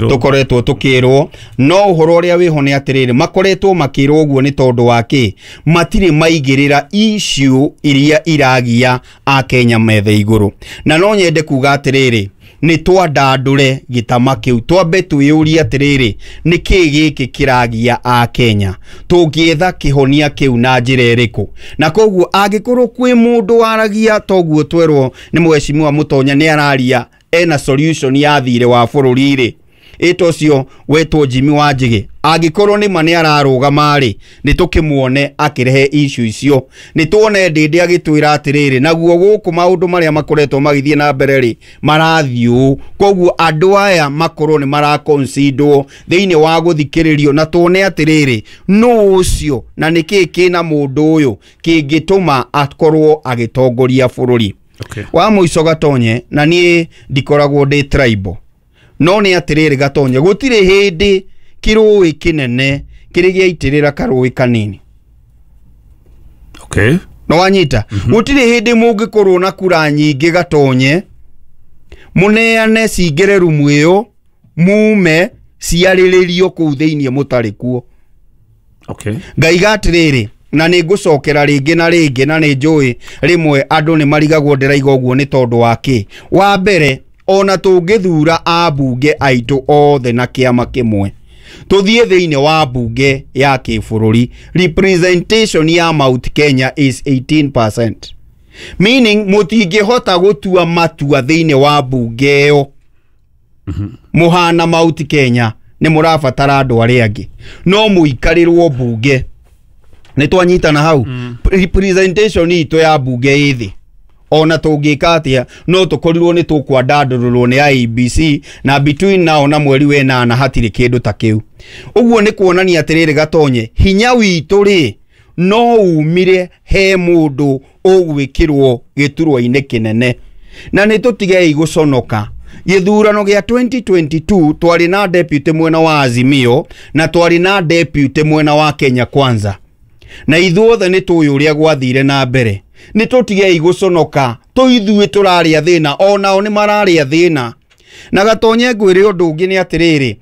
[SPEAKER 3] tũkoretwo tũkĩrwo, no ũhoro ũrĩa wĩho nĩ atĩrĩrĩ, makoretwo makĩrwo ũguo nĩ tondũ wa kĩ? Matirĩ maigĩrĩra issue iria iragia a Kenya methe igũrũ. Na no nyende kuga atĩrĩrĩ, nĩ twandandũre gĩtama kĩu, twambe twĩyũrie atĩrĩrĩ, nĩkĩĩ gĩkĩ kĩragia a Kenya, tũngĩetha kĩhonia kĩu na njĩra ĩrĩkũ? Na koguo angĩkorwo kwĩ mũndũ waragia toguo twerwo nĩ Mheshimiwa Mũtonya nĩ araria ena solution ya thirĩ wa bũrũri rĩ, ĩta ũcio wetwo Jimmy Wanjigi, angĩkorwo nĩ ma nĩ ararũgama rĩ, nĩ tũkĩmuone akĩrehe issue icio, nĩ tuone Ndĩndĩ agĩtwĩra atĩrĩrĩ, naguo gũkũ maũndũ marĩa makoretwo magĩthiĩ na mbere rĩ marathiĩ ũũ. Koguo andũ aya makorwo nĩ maraconsiderwo thĩinĩ wa gũthikĩrĩrio, na tuone atĩrĩrĩ, nũ ũcio na nĩkĩĩ kĩna mũndũ ũyũ kĩngĩtũma akorwo agĩtongoria bũrũri. Wa mũico Gatonye, na niĩ ndikoragwo ndĩ tribal, no nĩ atĩrĩrĩ Gatonye, gũtirĩ hĩndĩ kĩrũĩ kĩnene kĩrĩ gĩaitĩrĩra karũĩ kanini.
[SPEAKER 23] Okay.
[SPEAKER 3] No wanyita? Gũtirĩ hĩndĩ mũngĩkorwo na kura nyingĩ Gatonye, mũneane cingĩre rumu ĩyo, mume ciarĩrĩrio kũu thĩinĩ mũtarĩ kuo.
[SPEAKER 23] Okay.
[SPEAKER 3] Ngaiga atĩrĩrĩ, na nĩ ngũcokera rĩngĩ na rĩngĩ, na nĩ njũĩ rĩmwe andũ nĩ marigagwo ndĩraiga ũguo nĩ tondũ wa kĩ? Wa mbere, ona tũngĩthura ambunge aitũ othe na kĩama kĩmwe, tũthiĩ thĩinĩ wa mbunge ya kĩbũrũri, representation ya Mount Kenya is 18%, meaning mũtingĩhota gũtua matua thĩinĩ wa mbunge ĩyo mũhana Mount Kenya, nĩ mũrabatara andũ arĩa angĩ, no mũikarĩrwo mbunge. Nĩ twanyitana hau? Representation itũ ya mbunge ĩ thĩ. Ona tũngĩka atĩa no tũkorirwo nĩ tũkwandandũrũrwo nĩ IEBC, na between now na mweri wa 8 hatirĩ kĩndũ ta kĩu. Ũguo nĩ kuonania atĩrĩrĩ Gatonye, hinya witũ rĩ no umire he mũndũ ũgwĩkĩrwo gĩturwa-inĩ kĩnene. Na nĩ tũtigei gũconoka. Gĩthurano gĩa 2022 twarĩ na deputy mwena wa Azimio na twarĩ na deputy mwena wa Kenya Kwanza, na ithuothe nĩ tũĩ ũrĩa gwathire na mbere. Nĩ tũtigei gũconoka, tũithuĩ tũrarĩa thĩna, onao nĩ mararĩa thĩna. Na Gatonye ngwĩre ũndũ ũngĩ nĩ atĩrĩrĩ,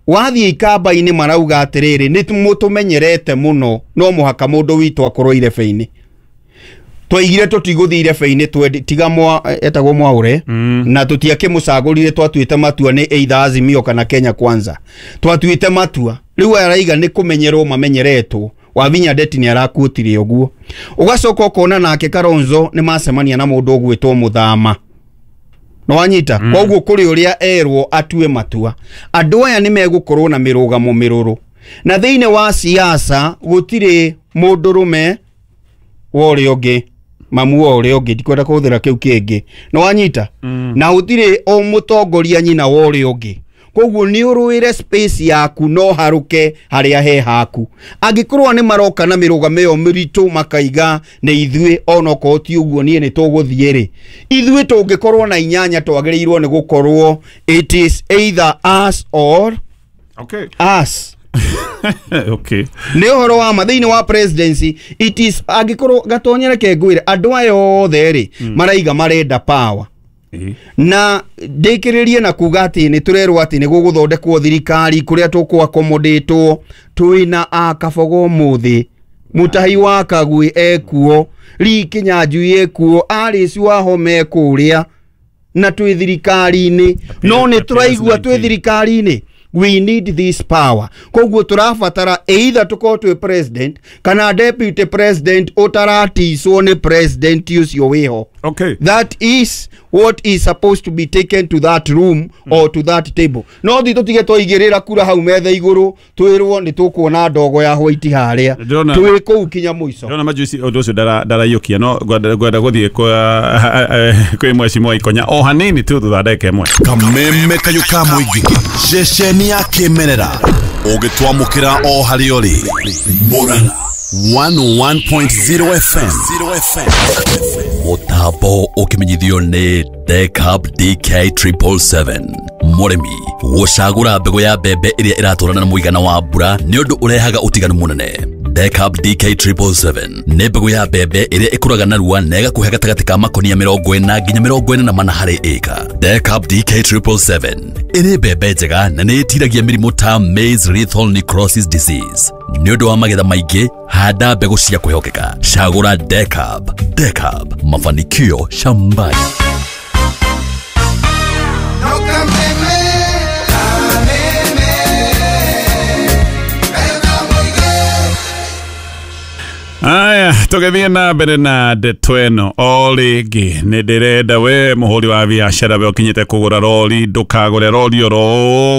[SPEAKER 3] wathiĩ ikamba-inĩ marauga atĩrĩrĩ, nĩ mũtũmenyerete mũno, no mũhaka mũndũ witũ akorwo irebe-inĩ. Twaigire tũtigũthiĩ irebe-inĩ, tiga etagwo Mwaũre, na tũtiakĩmũcagũrire, twatuĩte matua nĩ either Azimio kana Kenya Kwanza. Twatuĩte matua rĩu araiga nĩ kũmenyerwo mamenyeretwo. Wavinya Ndeti nĩ arakuotire ũguo. Ũgacoka ũkona nake Kalonzo nĩ macemania na mũndũ ũgwĩtwo Mũthama. No wanyita? Koguo kũrĩ ũrĩa erwo atue matua. Andũ aya nĩ megũkorwo na mĩrũgamo mĩrũrũ. Na thĩinĩ wa siasa gũtirĩ mũndũrũme wa ũrĩa ũngĩ, mamu wa ũrĩa ũngĩ, ndikwenda kũhũthĩra kĩu kĩngĩ. No wanyita? Na gũtirĩ o mũtongoria nyina wa ũrĩa ũngĩ. Koguo nĩ ũrũĩre space yaku no harũke harĩa he haku. Angĩkorwo nĩ maroka na mĩrũgamo ĩyo mĩritũ makaiga nĩ ithuĩ, onokorwo ti ũguo niĩ nĩ tũgũthiĩ rĩ, ithuĩ tũngĩkorwo na 8 twagĩrĩirwo nĩ gũkorwo it is either us or
[SPEAKER 23] okay.
[SPEAKER 3] us.
[SPEAKER 23] Okay.
[SPEAKER 3] Nĩ ũhoro wa ma thĩinĩ wa presidency it is, angĩkorwo Gatonye reke ngwĩre andũ aya othe rĩ maraiga marenda power. Na ndĩkĩrĩrie na kuga atĩ nĩ tũrerwo atĩ nĩ gũgũthondekwo thirikari kũrĩa tũkũ-accommodate-wo, twĩna a Kabogo ũmũthĩ, Mutahi wa Kagwe ekuo, Lee Kinyanjui ekuo, Alice Wahome kũrĩa, na twĩ thirikari-inĩ. No nĩ tũraigua twĩ thirikari-inĩ, we need this power. Koguo tũrabatara either tũkorwo twĩ president kana deputy president ũtaraticwo nĩ president ũcio wĩho.
[SPEAKER 23] Okay.
[SPEAKER 3] That is what is supposed to be taken to that room or to that table. No thi tũtige twaigĩrĩra kura hau metha igũrũ twĩrwo nĩ tũkuona ndogo ya white harĩa twĩ kũu kinya mũico.
[SPEAKER 23] Ndĩrona majuici ũndũ ũcio ndaraiyũkia, no ngwenda gũthiĩ kwĩ Mheshimiwa Ikonya o hanini tu thutha ndagĩka ĩmwe.
[SPEAKER 22] Kameme kayũ ka mũingĩ, ceceni ya kĩmerera, ũgĩtwamũkĩra o harĩa ũrĩ. Murang'a 101.0 FM.
[SPEAKER 5] Mũtambo ũkĩmenyithio nĩ Decab DK 777. Mũrĩmi gũcagũra mbegũ ya mbembe ĩrĩa ĩratwarana na mũigana wa mbura nĩ ũndũ ũrehaga ũtiganu mũnene. Decab DK 777 nĩ mbegũ ya mbembe ĩrĩa ĩkũraga narua na ĩgakũhe gatagatĩ ka makonia 40 nginya 44 harĩ ĩka. Decab DK 777 ĩrĩ mbembe njega na nĩ ĩtiragia mĩrimũ ta maize lethal necrosis disease. Nĩ ũndũ wa magetha maingĩ, handa mbegũ cia kwĩhokeka. Cagũra Decab. Decab, mafanikio shambani.
[SPEAKER 23] Aya, tũgĩthiĩ na mbere na ndeto ĩno o rĩngĩ. Nĩ ndĩrenda we mũhũri wa biacara we ũkinyĩte kũgũra rori, ndũkagũre rori oro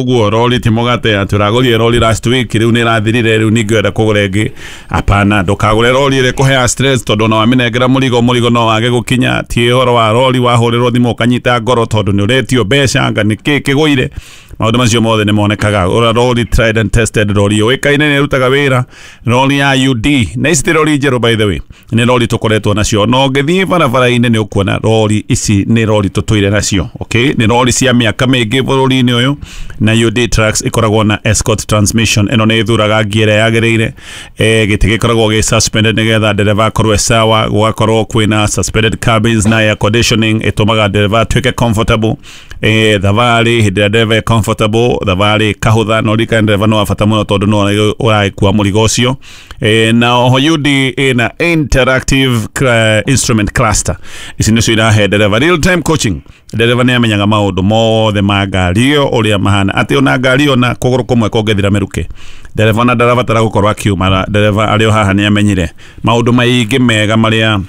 [SPEAKER 23] ũguo. Rori ti mũgate atĩ ũragũrire rori last week, rĩu nĩ ĩrathirire, rĩu ningĩ ũrenda kũgũra ĩngĩ. Hapana, ndũkagũre rori ĩrĩa ĩkũheaga stress, tondũ ona wamĩnengera mũrigo no wage gũkinya. Ti ũhoro wa rori wahũrĩrwo thimũ ũkanyita ngoro tondũ nĩ ũretio mbeca, anga nĩ kĩ kĩgũire. Maũndũ macio mothe nĩ monekaga. Ũra rori tried and tested, rori yũĩkaine nĩ ĩrutaga wĩra, rori ya UD. Na ici ti rori njerũ by the way, nĩ rori tũkoretwo nacio. No ũngĩthiĩ barabara-inĩ nĩ ũkuona rori ici nĩ rori tũtũire nacio. Okay, nĩ rori cia mĩaka mĩingĩ bũrũri-inĩ ũyũ, na UD Trucks ĩkoragwo na Escort transmission. Ĩno nĩ ĩthuraga ngia ĩrĩa yagĩrĩire. Gĩtĩ gĩkoragwo gĩ suspended nĩgetha ndereba akorwo sawa, gũgakorwo kwĩna suspended cabins na air conditioning ĩtũmaga ndereba atuĩke comfortable. Thabarĩ hĩndĩ ĩrĩa ndereba e comfortable, thabarĩ kahũtha, no ririkane ndereba no wa bata mũno tondũ no ũragĩkua mũrigo ũcio. Na oho UD ĩna interactive instrument cluster. Ici nĩcio irahe ndereba real time coaching. Ndereba nĩ amenyaga maũndũ mothe ma ngari ĩyo ũrĩa mahana, atĩ ona ngari ĩyo na kũgũrũ kũmwe kũngĩthira mĩrukĩ, ndereba ona ndarabatara gũkorwo akiuma. Ndereba arĩ o haha nĩ amenyire maũndũ maingĩ mega marĩa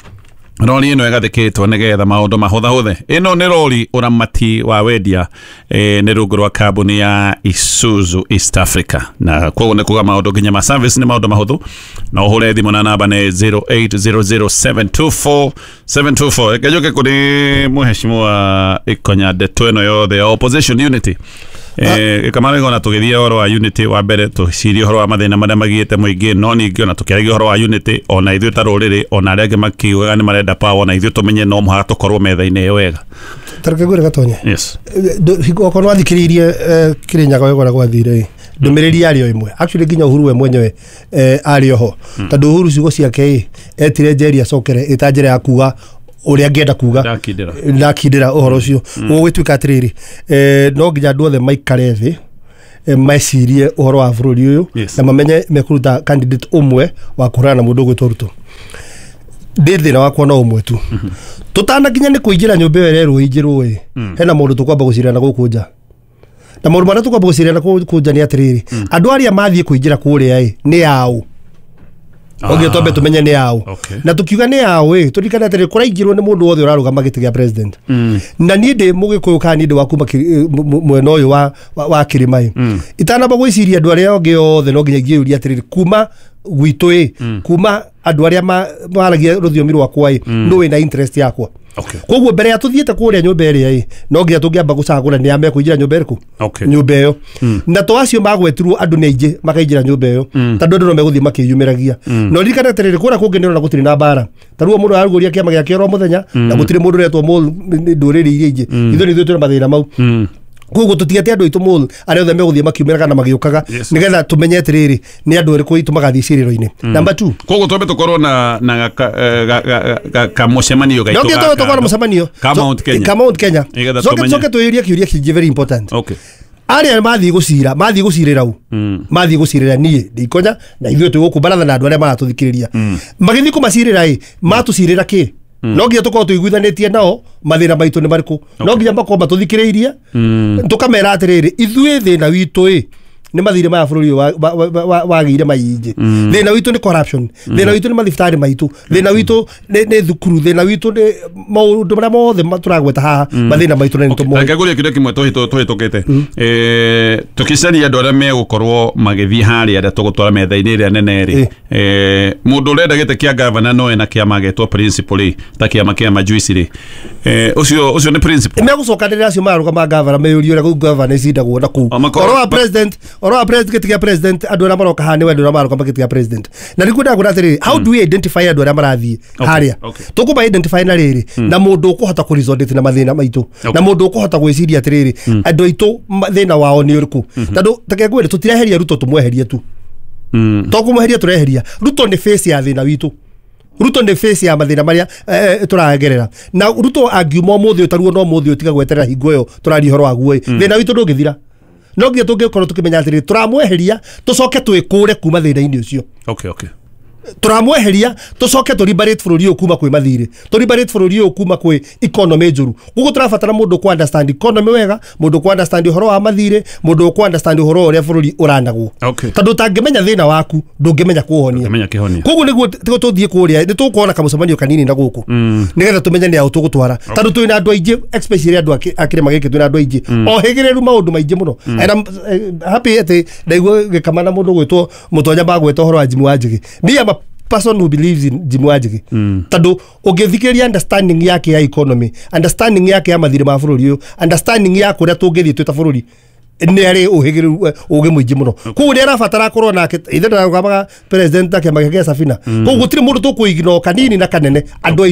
[SPEAKER 23] Rori ĩno ĩgathĩkĩtwo nĩgetha maũndũ mahũthahũthe. Ĩno nĩ rori ũramati wa wendia nĩ rungu rwa kambuni ya Isuzu East Africa, na koguo nĩ kuga maũndũ nginya ma service nĩ maũndũ mahũthũ. No ũhũre thimũ na namba nĩ 0800724724. Reke njũke kũrĩ mũheshimiwa Ikonya ndeto ĩno yothe ya opposition unity. Kamara ona tũgĩthiĩ ũhoro wa unity wa mbere tũcirie ũhoro wa mathĩna marĩa magiĩte mũingĩ, no ningĩ ona tũkĩaragia ũhoro wa unity ona ithuĩ ta rũrĩrĩ ona arĩa angĩ makiugaga nĩ marenda power, ona ithuĩ tũmenye no mũhaka tũkorwo metha-inĩ ĩyo wega.
[SPEAKER 6] Tareke ngwĩre Gatonye.
[SPEAKER 23] Yes.
[SPEAKER 6] Okorwo wathikĩrĩirie Kĩrĩnyaga wega ũrĩa gwathire, ndũmĩrĩri yarĩ o ĩmwe. Actually nginya Uhuru we mwenyewe arĩ oho, tondũ Uhuru ciugo ciake etire Njeri acokere ĩta njĩra ya kuga ũrĩa angĩenda kuga ndakindĩra ũhoro ũcio. Gũgĩtuĩka atĩrĩrĩ, no nginya andũ othe maikare thĩ mecirie ũhoro wa bũrũri ũyũ na mamenye mekũruta candidate ũmwe wa kũhũrana na mũndũ ũgwĩtwo Ruto. Ndĩ thĩna wakwa no ũmwe tu, tũtanakinya nĩ kũingĩra nyũmba ĩyo ĩrerwo ĩingĩrwo ĩ, hena maũndũ tũkwamba gũcirana gũkũ nja, na maũndũ marĩa tũkwamba gũcirana gũkũ nja nĩ atĩrĩrĩ, andũ arĩa mathiĩ kũingĩra kũrĩa ĩ nĩ aũ. Oge twambe tumenye nĩ aũ. Na tukiuga nĩ aũ ĩ, tũririkane atĩrĩ kũraingĩrwo nĩ mũndũ wothe ũrarũgama gĩtĩ gĩa president. Na niĩ ndĩ mũgĩkũyũ kana niĩ ndĩ wa kuma mwena ũyũ wa kĩrĩma ĩ, itanamba gwĩciria andũ arĩa angĩ othe no nginya ingĩyũria atĩrĩrĩ, kuma gwitũ ĩ, kuma andũ arĩa maragia rũthiomi rwakwa ĩ, nũ wĩna interest yakwa. Koguo mbere ya tuthiĩte kũrĩa nyũmba ĩrĩa ĩ, no nginya tũngĩamba gũcagũra nĩ a mekũingĩra nyũmba ĩrĩkũ, nyũmba ĩyo. Na to acio magwetirwo andũ nĩ aingĩ makaingĩra nyũmba ĩyo, tondũ andũ no megũthiĩ makĩyumĩragia. No ririkana atĩrĩrĩ, kũrĩa kũngĩ nĩũrona gũtirĩ na mbara, ta rĩu mũndũ ararugũria kĩama gĩake oro mũthenya, na gũtirĩ mũndũ ũretwo ndũrĩrĩ iria ingĩ. Ithuĩ nĩ ithuĩ twĩna mathĩna mau. Koguo tũtigete andũ aitũ mũl arĩa othe megũthiĩ makiumĩra kana magĩũkaga, nĩgetha tũmenye atĩrĩrĩ nĩ andũ arĩkũ aitũ magathiĩ ciĩrĩro-inĩ. Number 2,
[SPEAKER 23] koguo twambe tũkorwo na kamũcemanio gaitũ,
[SPEAKER 6] no nginya twambe tũkorwo na mũcemanio
[SPEAKER 23] ka Mount Kenya,
[SPEAKER 6] ka Mount Kenya. Coke twĩyũrie kĩũria kĩngĩ very important. Arĩa mathiĩ gũcira, mathiĩ gũcirĩra u, mathiĩ gũcirĩra niĩ ndĩ Ikonya na ithuĩ twĩ gũkũ baratha na andũ arĩa maratũthikĩrĩria, magĩthiĩ kũmacirĩra ĩ, matũcirĩra kĩ? No nginya tũkorwo tũiguithanĩtie nao mathĩna maitũ nĩ marĩkũ, no nginya makorwo matũthikĩrĩirie, tũkamera atĩrĩrĩ, ithuĩ thĩna witũ ĩ nĩ mathirĩ maya bũrũri wagĩire maingĩ, thĩna witũ nĩ corruption, thĩna witũ nĩ mathibitarĩ maitũ, thĩna witũ nĩ thukuru, thĩna witũ nĩ maũndũ marĩa mothe tũragweta haha, mathĩna maitũ nĩ tũmoĩ.
[SPEAKER 23] Reke ngũrie kĩũria kĩmwe tũhĩtũkĩte, tũkĩcaria andũ arĩa megũkorwo magĩthiĩ harĩa arĩa tũgũtwara metha-inĩ ĩrĩa nene rĩ, mũndũ ũrenda gĩtĩ kĩa gavana no ena kĩama gĩtwo principal rĩ, ta kĩama kĩa majuici rĩ, ũcio nĩ principal.
[SPEAKER 6] Megũcokanĩrĩra acio mararũgama gavana meyũrie ũrĩa gavana icindagwo na kũu. Ũhoro wa president, ũhoro wa president, gĩtĩ kĩa president, andũ arĩa maroka haha nĩ andũ arĩa mararũgama gĩtĩ kĩa president. Na nĩguo ndagwĩra atĩrĩrĩ, how do we identify andũ arĩa marathiĩ harĩa? Tũkũma identify na rĩrĩ, na mũndũ ũkũhota kũ resonate na mathĩna maitũ, na mũndũ ũkũhota gwĩciria atĩrĩrĩ, andũ aitũ thĩna wao nĩ ũrĩkũ. Tondũ reke ngwĩre, tũtireheria Ruto tũmweherie tu, to kũmweheria tũreheria Ruto nĩ face ya thĩna witũ. Ruto nĩ face ya mathĩna marĩa tũragerera. Na Ruto angiuma ũmũthĩ ũtaruo no ũmũthĩ ũtiga gweterera hingo ĩyo tũraria ũhoro waguo ĩ, thĩna witũ ndũngĩthira. No nginya tũngĩkorwo tũkĩmenya atĩrĩrĩ, tũramweheria tũcoke twĩkũre kuma thĩna-inĩ ũcio. Tũramweheria tũcoke tũ liberate bũrũri ũyũ kuma kwĩ mathirĩ, tũ liberate bũrũri ũyũ kuma kwĩ economy njũru. Koguo tũrabatara mũndũ ũkũ understand economy wega, mũndũ ũkũ understand ũhoro wa mathirĩ, mũndũ ũkũ understand ũhoro ũrĩa bũrũri ũranagwo. Tondũ ũtangĩmenya thĩna waku ndũngĩmenya kũũhonia. Koguo nĩguo tũthiĩ kũrĩa nĩ tũkuona kamũcemanio kanini na gũkũ, nĩgetha tũmenye nĩ aũ tũgũtwara, tondũ twĩna andũ aingĩ, especially andũ a kĩrĩma gĩkĩ twĩna andũ aingĩ ohĩgĩrĩru maũndũ maingĩ mũno. And I'm happy atĩ ndaigua gĩkama na mũndũ ũgwĩtwo Mũtonya magweta ũhoro wa Jimmy Wanjigi. Me am a person who believes in Jimmy Wanjigi, tondũ ũngĩthikĩrĩria understanding yake ya economy, understanding yake ya mathirĩ ma bũrũri ũyũ, understanding ya kũrĩa tũngĩthiĩ twĩ ta bũrũri, nĩ arĩ ũhĩgĩrĩru ũgĩ mũingĩ mũno. Koguo nĩ arabatara akorwo nake ithe ndararũgamaga president ta kĩama gĩa Safina. Koguo gũtirĩ mũndũ tũkũignore kanini na kanene, andũ